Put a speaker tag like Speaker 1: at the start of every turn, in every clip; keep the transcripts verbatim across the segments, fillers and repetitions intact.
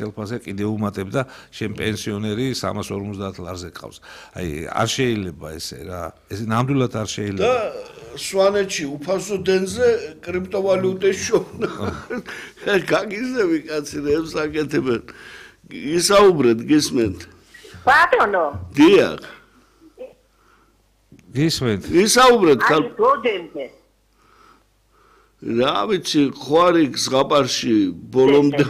Speaker 1: ხელფასზე კიდევ უმატებდა შენ პენსიონერი სამას ორმოცდაათ ლარზე ყავს. აი არ შეიძლება ესე რა. ეს ნამდვილად არ შეიძლება.
Speaker 2: და სვანეთში უფასო დენზე კრიპტოვალუტის შოვნა. გაგიზები კაცი რა ემსაკეთებენ. ისაუბრეთ გისმენთ.
Speaker 3: ბატონო.
Speaker 2: დიახ.
Speaker 1: გისმენთ.
Speaker 2: ისაუბრეთ
Speaker 3: აი როდენზე
Speaker 2: რა ვიცი ხვარი ზღაპარში ბოლომდე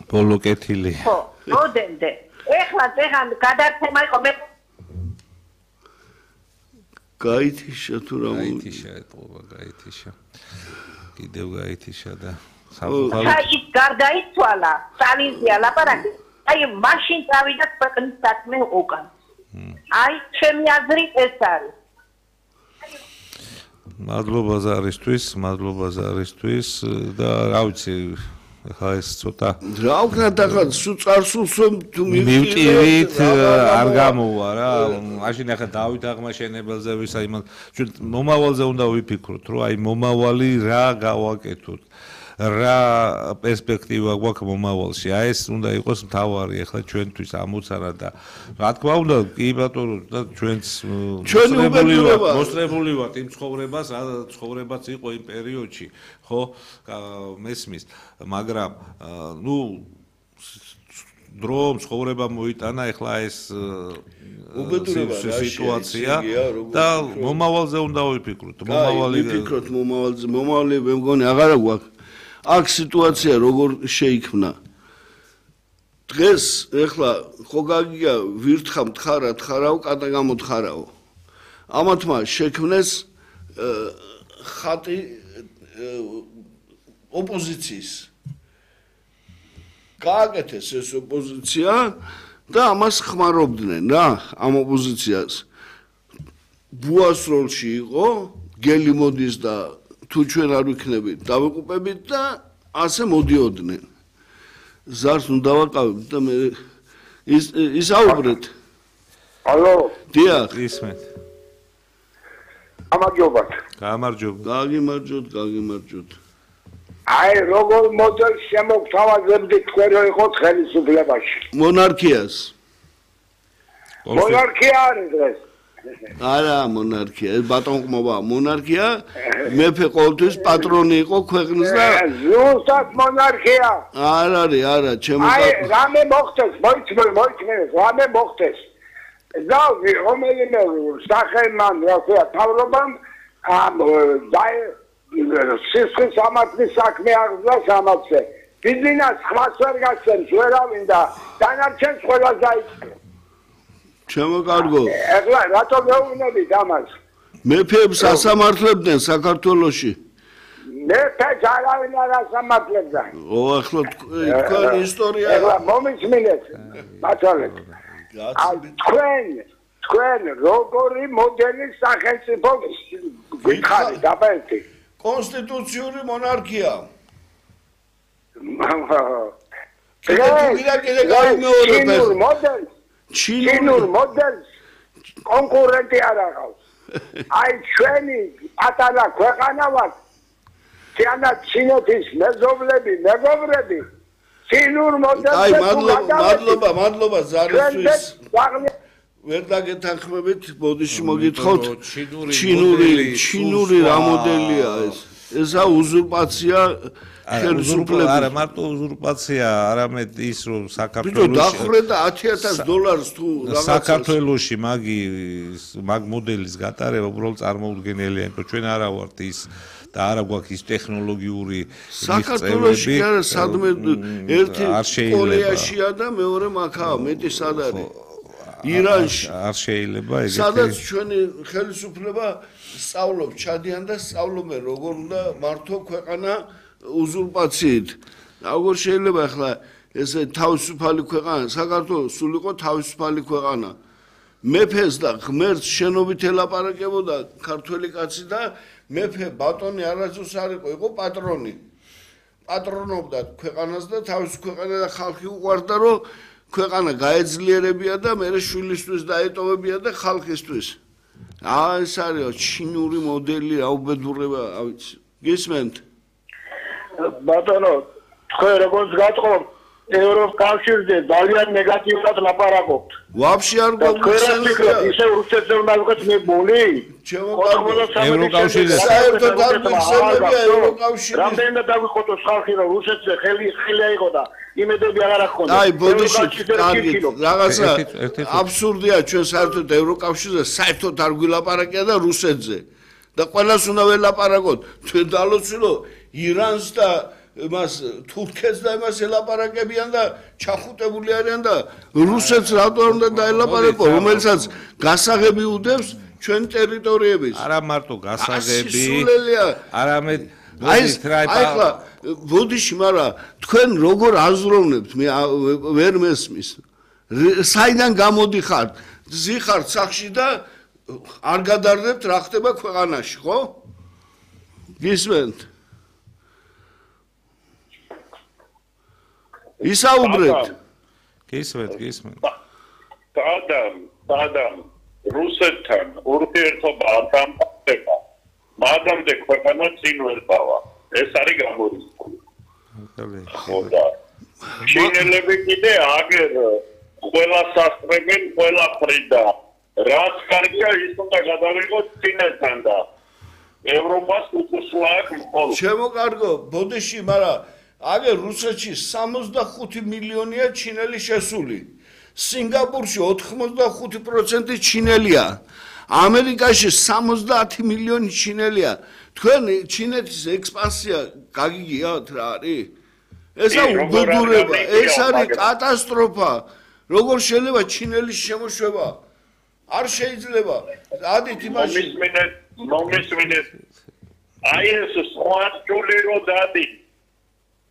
Speaker 1: ბოლო კეთილი
Speaker 3: ხო როდენზე ეხლა ზეღან გადაცემა იყო მე
Speaker 2: გაითიშა თუ რა
Speaker 1: გაითიშა ეთყობა გაითიშა კიდევ გაითიშა და საფუძველი
Speaker 3: აი ის გარდაიცვალა სტალინზია ლაპარაკი აი მაშინ წავიდა ქვეყნის საქმე უკან აი ჩემი აზრით ეს არის
Speaker 1: მადლობა ზარისთვის, მადლობა ზარისთვის და რა ვიცი, ხა ეს ცოტა
Speaker 2: რა ვქნათ ახლა სულ წარსულს თუ
Speaker 1: მივტივით არ გამოვა რა, მაშინ ახლა დავით აღმაშენებელზე ვისა იმან ჩვენ მომავალზე უნდა ვიფიქროთ, რომ აი მომავალი რა გავაკეთოთ. რა პერსპექტივა გვაქვს მომავალში. აი ეს უნდა იყოს მთავარი ახლა ჩვენთვის ამოცანა და რა თქმა უნდა კი ბატონო და ჩვენც მოსწრებული ვართ იმ ცხოვრებას, რა ცხოვრებაც იყო იმ პერიოდში, ხო? მესმის, მაგრამ ნუ დრო ცხოვრება მოიტანა ახლა ეს სიტუაცია და მომავალზე უნდა ვიფიქროთ.
Speaker 2: მომავალი ვიფიქროთ მომავალზე, მომავალი მე მგონი აღარა გვაქვს. აქ სიტუაცია როგორ შეიქმნა დღეს ეხლა ხო გაგიგა ვირთხა მთხარა თხარავ კატა გამოთხარავ ამათმა შექმნეს ხატი ოპოზიციის გააკეთეს ეს ოპოზიცია და ამას ხმარობდნენ რა ამ ოპოზიციას ბუას როლში იყო გელი მოდის და თუ ჩვენ არ ვიქნებით დავიყუპებით და ასე მოდიოდნენ ზარს უნდა დავაყავებთ და მე ის ისაუბრეთ
Speaker 4: ალო
Speaker 2: დიახ
Speaker 1: ისმენთ
Speaker 4: გამარჯობათ
Speaker 1: გამარჯობა
Speaker 2: გაგიმარჯოთ გაგიმარჯოთ
Speaker 4: აი როგორ მოდელს შემოგთავაზებდით თქვენ რომ იყოთ ხელისუფლებაში
Speaker 2: მონარქიას
Speaker 4: მონარქია არის დღეს
Speaker 2: არა მონარქია ეს ბატონყმობა მონარქია მეფე ყოველთვის პატრონი იყო ქვეყნის და
Speaker 4: ზუსტად მონარქია
Speaker 2: არ არის არა ჩემო
Speaker 4: აი რამე მოხდეს მოიწმე მოიწმე რამე მოხდეს და რომელიმე სახელმან რაღაცა თავრობამ ამ დაი სისხლის ამათის საქმე აღზრდა სამაცე ბიზნეს ხმას ვერ გასცემს ვერავინ და დანარჩენს ყველას დაიწყო
Speaker 2: ჩემო კარგო
Speaker 4: ეხლა რატო მეუბნებით ამას
Speaker 2: მეფეებს ასამართლებდნენ საქართველოში
Speaker 4: მეფეს არავინ არ ასამართლებდა
Speaker 2: ო ახლა თქვენ ისტორია
Speaker 4: ეხლა მომისმინეთ ბატონეთ თქვენ თქვენ როგორი მოდელის სახელმწიფო გითხარით დაბალტი
Speaker 2: კონსტიტუციური მონარქია
Speaker 4: ჩინურ მოდელს ჩინურ მოდელს კონკურენტი არ აღავს აი ჩვენი პატარა ქვეყანა ვართ თიანა ჩინეთის მეზობლები მეგობრები ჩინურ მოდელს
Speaker 2: აი მადლობა მადლობა მადლობა ზარისთვის ვერ დაგეთანხმებით ბოდიში მოგითხოთ ჩინური ჩინური რა მოდელია ეს ესა უზურპაცია
Speaker 1: ხელისუფლების არა მარტო უზურპაცია არამედ ის რომ საქართველოს
Speaker 2: დახრდა ათი ათას დოლარს თუ რაღაცა
Speaker 1: საქართველოში მაგი მაგ მოდელის გატარება უბრალოდ წარმოუდგენელია იმიტომ ჩვენ არა ვართ ის და არა გვაქვს ის ტექნოლოგიური
Speaker 2: საქართველოში არა სადმე ერთი კორეაშია და მეორე მაქაა მეტი სად არის ირანში
Speaker 1: არ შეიძლება ეგეთი
Speaker 2: სადაც ჩვენი ხელისუფლება სწავლობს ჩადიან და სწავლობენ როგორ უნდა მართო ქვეყანა უზურპაციით როგორ შეიძლება ახლა ესე თავისუფალი ქვეყანა საქართველოს სულ იყო თავისუფალი ქვეყანა მეფეს და ღმერთს შენობით ელაპარაკებოდა ქართველი კაცი და მეფე ბატონი არასდროს არ იყო იყო პატრონი პატრონობდა ქვეყანას და თავის ქვეყანა და ხალხი უყვარდა რომ ქვეყანა გაეძლიერებია და მე შვილისთვის დაეტოვებია და ხალხისთვის აა ეს არის ჩინური მოდელი აუბედურება ავიცი გისმენთ
Speaker 4: ბატონო თქვენ როგორც გატყობ ევროკავშირზე ძალიან ნეგატიურად ლაპარაკობთ.
Speaker 2: ვაფშე არ გვაგვიხსენებია.
Speaker 4: ისე რუსეთზე უნდა ვიყოთ მებული?
Speaker 1: ევროკავშირზე
Speaker 2: საერთოდ არ გვიხსენებია ევროკავშირი.
Speaker 4: რამდენად დაგვიყოთ ხალხი რომ რუსეთზე ხელი ხელი აიღო და იმედები აღარ აქვს.
Speaker 2: აი, ბოდიში, კარგი, რაღაცა აბსურდია ჩვენ საერთოდ ევროკავშირზე საერთოდ არ გვილაპარაკია და რუსეთზე. და ყველას უნდა ველაპარაკოთ. ჩვენ დალოცილო ირანს და მას თურქეთს და იმას ელაპარაკებიან და ჩახუტებული არიან და რუსეთს რატომ უნდა დაელაპარაკო, რომელსაც გასაღები უდევს ჩვენ ტერიტორიების.
Speaker 1: არა მარტო გასაღები, არამედ
Speaker 2: აი ახლა ბოდიში, მაგრამ თქვენ როგორ აზროვნებთ, მე ვერ მესმის. საიდან გამოდიხართ? ზიხართ სახში და არ გადარდებთ რა ხდება ქვეყანაში, ხო? გისმენთ? ისაუბრეთ.
Speaker 1: გისმენთ, გისმენთ.
Speaker 5: სადამ, სადამ რუსეთთან ურთიერთობა დამყარდება. მადამდე ქვეყანა წინ ვერ დავა. ეს არის გამორიცხული. ხოდა. ჩინელები კიდე აგერ ყველა სასწრებენ ყველა ფრიდა. რაც კარგია ის უნდა გადავიღოთ წინასთან და ევროპას უწესლა აქვს მხოლოდ.
Speaker 2: ჩემო კარგო, ბოდიში, მაგრამ აგერ რუსეთში სამოცდახუთი მილიონია ჩინელი შესული. სინგაპურში ოთხმოცდახუთი პროცენტი ჩინელია. ამერიკაში სამოცდაათი მილიონი ჩინელია. თქვენ ჩინეთის ექსპანსია გაგიგიათ რა არის? ესა უბედურება, ეს არის კატასტროფა. როგორ შეიძლება ჩინელის შემოშვება? არ შეიძლება. ადით იმაში
Speaker 5: მომისმინეთ, მომისმინეთ. აი ეს სხვა ჯული რო დადი.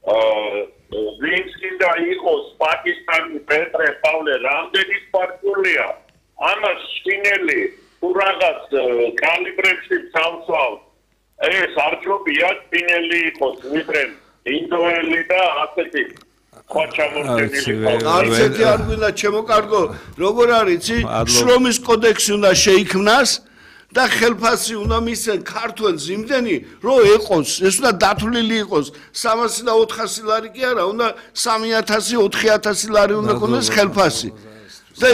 Speaker 5: ვინც კიდე იყოს პაკისტანი პეტრე პავლე რამდენი სპარკულია ამას ჩინელი თუ რაღაც კალიბრებში ცალსავ ეს არჩობია ჩინელი იყოს ვიდრე ინდოელი და ასეთი
Speaker 2: არცეთი არ გვინდა ჩემო კარგო როგორ არის იცი შრომის კოდექსი უნდა შეიქმნას და ხელფასი უნდა მისცენ ქართველს იმდენი რომ ეყოს ეს უნდა დათვლილი იყოს სამასი და ოთხასი ლარი კი არა უნდა სამი ათასი ოთხი ათასი ლარი უნდა ქონდეს ხელფასი და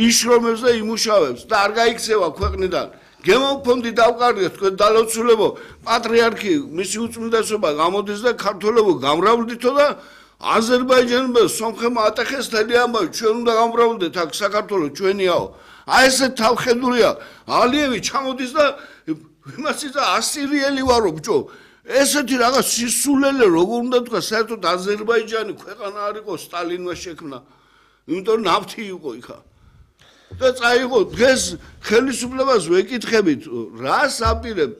Speaker 2: იშრომებს და იმუშავებს და არ გაიქცევა ქვეყნიდან გემოფონდი დავყარდეთ თქვენ დალოცულებო პატრიარქი მისი უწმიდესობა გამოდის და ქართველებო გამრავლდითო და აზერბაიჯანმა სომხებმა ატეხეს თელი ამბავი ჩვენ უნდა გამრავლდეთ აქ საქართველოს ჩვენიაო აი ესე თავხედულია ალიევი ჩამოდის და იმას ისა ასირიელი ვარო ბჭო ესეთი რაღაც სისულელე როგორ უნდა თქვა საერთოდ აზერბაიჯანი ქვეყანა არ იყო სტალინმა შექმნა იმიტომ ნავთი იყო იქა და წაიღო დღეს ხელისუფლებას ვეკითხებით რას აპირებთ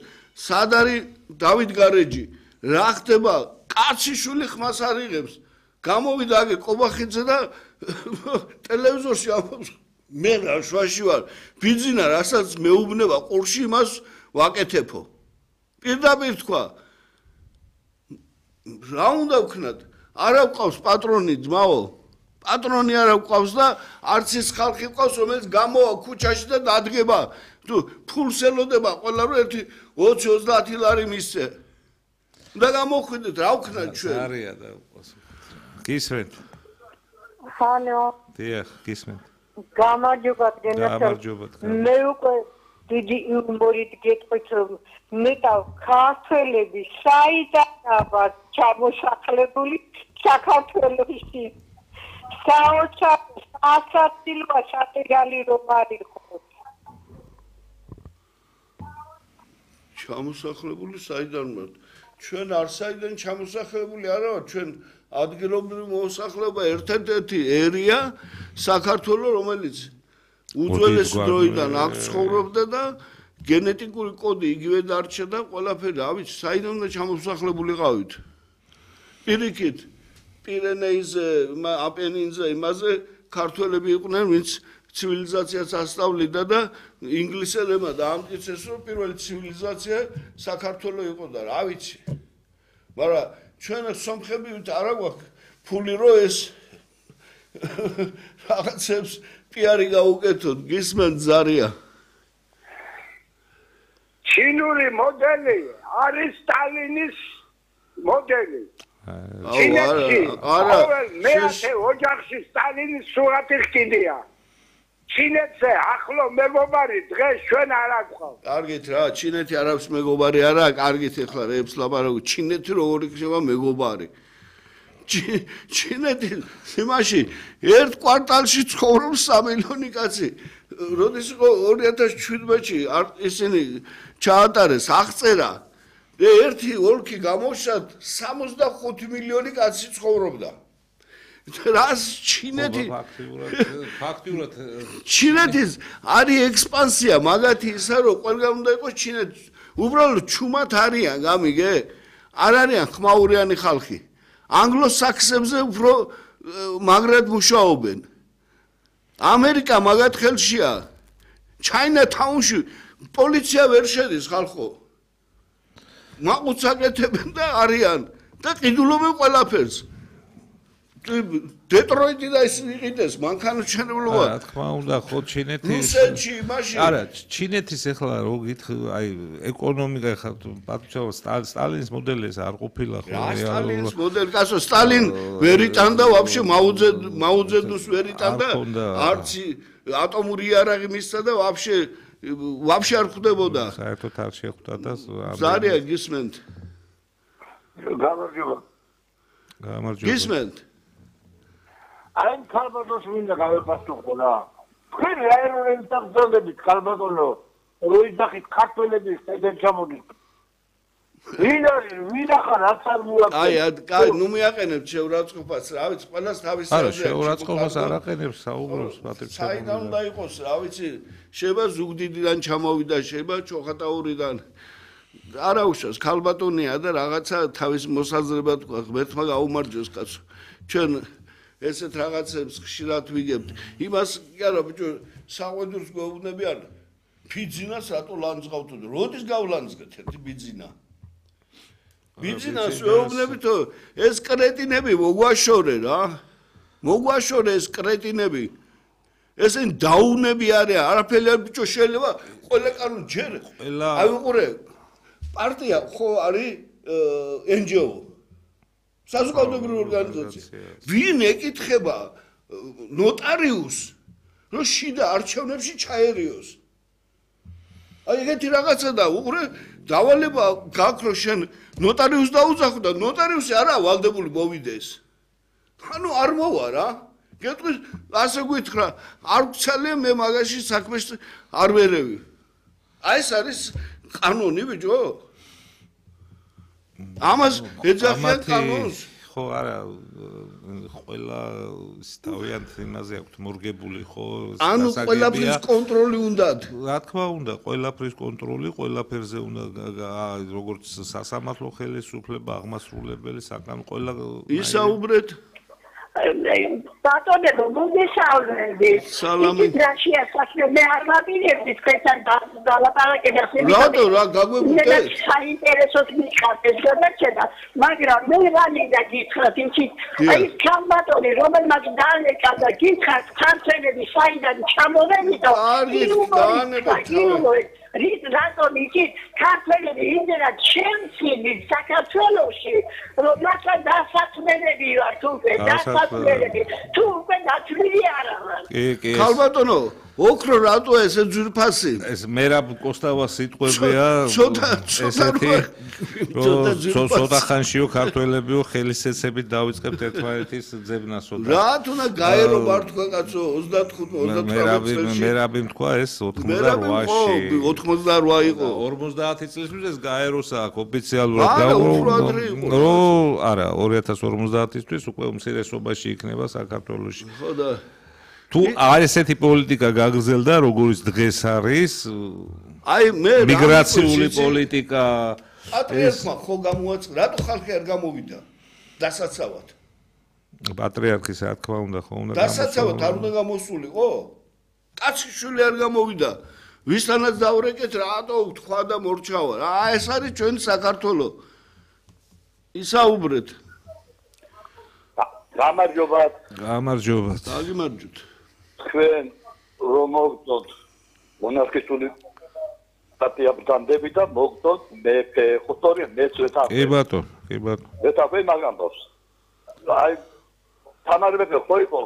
Speaker 2: სად არის დავით გარეჯი რა ხდება კაციშვილი ხმას არ იღებს გამოვიდა აგე კობახიძე და ტელევიზორში ამბობს მე რა შვაში ვარ ბიძინა რასაც მეუბნება ყურში იმას ვაკეთებო პირდაპირ თქვა რა უნდა ვქნათ არა ვყავს პატრონი ძმაო პატრონი არა ვყავს და არც ის ხალხი ვყავს რომელიც გამოვა ქუჩაში და დადგება თუ ფულს ელოდება ყველა რო ერთი ოცი ოცდაათი ლარი მისცე და გამოხვიდეთ რა ვქნათ ჩვენ
Speaker 1: არია და გისმენთ
Speaker 6: ჰალო
Speaker 1: დიახ გისმენთ
Speaker 6: გამარჯობათ
Speaker 1: გამარჯობათ
Speaker 6: მე უკვე დიდი უმორით გეტყვით რომ მეტა ქართველები საიდანაა ჩამოსახლებული საქართველოში საოცარ ასაცილვა შატეგალი რომ არის
Speaker 2: ჩამოსახლებული საიდან ვართ ჩვენ არ საიდან ჩამოსახლებული არა ვართ ჩვენ ადგილობრივი მოსახლეობა ერთ-ერთი ერია საქართველოს რომელიც უძველესი დროიდან აქ ცხოვრობდა და გენეტიკური კოდი იგივე დარჩა და ყველაფერი ავიც საიდან უნდა ჩამოსახლებულიყავით პირიქით პირენეიზე აპენინზე იმაზე ქართველები იყვნენ ვინც ცივილიზაციას ასწავლიდა და ინგლისელებმა დაამტკიცეს რომ პირველი ცივილიზაცია საქართველოს იყო და რა ვიცი მაგრამ ჩვენ სომხები არა გვაქვს ფული რო ეს რაღაცებს პიარი გაუკეთოთ გისმენთ ზარია
Speaker 4: ჩინური მოდელი არის სტალინის მოდელი ჩინეთში
Speaker 2: არა
Speaker 4: მეათე ოჯახში სტალინის სურათი ხდია. ჩინეთზე ახლო მეგობარი დღეს ჩვენ არ აგვყავთ.
Speaker 2: კარგით რა, ჩინეთი არ აქვს მეგობარი არა, კარგით ეხლა რეებს ლაპარაკობ, ჩინეთი როგორ იქნება მეგობარი? ჩინეთი იმაში ერთ კვარტალში ცხოვრობს სამი მილიონი კაცი. როდის იყო ორი ათას შვიდმეტში ისინი ჩაატარეს აღწერა და ერთი ოლქი გამოშად სამოცდახუთი მილიონი კაცი ცხოვრობდა. რას ჩინეთი
Speaker 1: ფაქტიურად
Speaker 2: ჩინეთის არის ექსპანსია მაგათი ისა რომ ყველგან უნდა იყოს ჩინეთი უბრალოდ ჩუმად არიან გამიგე არ არიან ხმაურიანი ხალხი ანგლო-საქსებზე უფრო მაგრად მუშაობენ ამერიკა მაგათ ხელშია ჩაინათაუნში პოლიცია ვერ შედის ხალხო მაყუთს აკეთებენ და არიან და ყიდულობენ ყველაფერს დეტროიტი და ის იყიდეს მანქანათმშენებლობა
Speaker 1: რა თქმა უნდა ხო ჩინეთის
Speaker 2: რუსეთში მაშინ
Speaker 1: არა ჩინეთის ეხლა რო გითხრ აი ეკონომიკა ხა პატჩავა სტალინის მოდელი ეს არ ყოფილა ხო
Speaker 2: სტალინის მოდელი კაცო სტალინ ვერ იტანდა ვაფშე მაუძე მაუძედუს ვერ იტანდა არც ატომური იარაღი მისცა და ვაფშე ვაფშე არ ხვდებოდა
Speaker 1: საერთოდ არ შეხვდა და
Speaker 2: ზარია გისმენთ
Speaker 4: გამარჯობა
Speaker 1: გამარჯობა
Speaker 2: გისმენთ
Speaker 4: აი ქალბატონს მინდა გავეფასო რა. თქვენ რაერონის დაგზავნებით ქალბატონო, როიდახით ქართველების წედენ ჩამოდით. ვინ არის, ვინ ახარ რაც არ მოაქვს.
Speaker 2: აი, აი, ნუ მიაყენებთ შეურაცხყოფას, რა ვიცი, ყველას თავის
Speaker 1: არა, შეურაცხყოფას არ აყენებს, საუბრობს პატრიცია.
Speaker 2: საიდან უნდა იყოს, რა ვიცი, შეიძლება ზუგდიდიდან ჩამოვიდა, შეიძლება ჩოხატაურიდან. არა უშავს, ქალბატონია და რაღაცა თავის მოსაზრება თქვა, ღმერთმა გაუმარჯოს კაცო. ჩვენ ესეთ რაღაცებს ხშირად ვიგებთ. იმას კი არა ბიჭო, საყვედურს გვეუბნებიან. ბიძინას რატო ლანძღავთ? როდის გავლანძღეთ ერთი ბიძინა? ბიძინას ვეუბნებითო, ეს კრეტინები მოგვაშორე რა. მოგვაშორე ეს კრეტინები. ესენ დაუნები არიან, არაფერი არ ბიჭო შეიძლება ყველა კანონ ჯერ. აი უყურე. პარტია ხო არის ენ ჯი ო საზოგადოებრივი ორგანიზაცია. ვინ ეკითხება ნოტარიუსს, რომ შიდა არჩევნებში ჩაერიოს? აი ეგეთი რაღაცა და უყურე დავალება გაქვს რომ შენ ნოტარიუსს დაუძახო და ნოტარიუსი არა ვალდებული მოვიდეს. ანუ არ მოვა რა. გეტყვის ასე გითხრა, არ გცალია მე მაგაში საქმეს არ ვერევი. აი ეს არის კანონი ბიჭო. ამას ეძახიან კანონს.
Speaker 1: ხო არა ყველა თავიანთ იმაზე აქვს მორგებული ხო
Speaker 2: ანუ ყველაფრის კონტროლი უნდათ.
Speaker 1: რა თქმა უნდა ყველაფრის კონტროლი ყველაფერზე უნდა როგორც სასამართლო ხელისუფლება აღმასრულებელი საკანონმდებლო ყველა
Speaker 2: ისაუბრეთ
Speaker 3: ბატონებო მოგესალმები
Speaker 2: სალამი
Speaker 3: რაშია საქმე მე არ მაპირებდი თქვენთან დალაპარაკებას
Speaker 2: რატო რა გაგვებუდეთ
Speaker 3: საინტერესოდ მიყავთ ეს გადაჭედა მაგრამ მე რანიდა გითხრათ იცით აი კამბატონი რომელმაც დაანეკა და გითხრათ ქართველები საიდან ჩამოვედი და რის რატომ იცით ქართველები იმდენად შემცინი საქართველოში რომ მათთან დასაქმებები ვარ თუ დასაქმებები თუ უკვე დათვლილი არა ვარ
Speaker 2: ქალბატონო ოქრო რატო ესე ძვირფასი
Speaker 1: ეს მერაბ კოსტავას სიტყვებია
Speaker 2: ცოტა
Speaker 1: ესეთი რომ ცოტა ხანშიო ქართველებიო ხელისეცებით დავიწყებთ ერთმანეთის ძებნასო
Speaker 2: რა თუნა გაერო მართლა კაცო ოცდათხუთი ოცდათვრამეტი წელს
Speaker 1: მერაბი თქვა ეს ოცდაოთხმოცდაოთხში
Speaker 2: ოცდაოთხმოცდაოთხ იყო
Speaker 1: ორმოცდაათი წლის მის გაეროს აქ ოფიციალურად რო არა ორი ათას ორმოცდაათისთვის უკვე უმცირესობაში იქნება საქართველოში
Speaker 2: ხო და
Speaker 1: თუ არ ესეთი პოლიტიკა გაგრძელდა როგორც დღეს არის
Speaker 2: აი მე
Speaker 1: მიგრაციული პოლიტიკა
Speaker 2: პატრიარქმა ხო გამოაწყდა რატო ხალხი არ გამოვიდა დასაცავად
Speaker 1: პატრიარქის რა თქმა უნდა ხო უნდა
Speaker 2: დასაცავად არ უნდა გამოსულიყო კაციშვილი არ გამოვიდა ვისთანაც დავრეკეთ რატო თქვა და მორჩავა რა ეს არის ჩვენი საქართველო ისაუბრეთ
Speaker 4: გამარჯობათ
Speaker 1: გამარჯობათ
Speaker 2: დაგიმარჯვეთ
Speaker 4: თქვენ რომ მოვწოთ მონარქისტული
Speaker 7: სტატია ბრძანდები და მოგდოთ მეფე ხუთორი მეცვეთა
Speaker 1: კი ბატონო კი ბატონო
Speaker 7: მეთავე მაგამ დავს აი თანარებე ხო იყო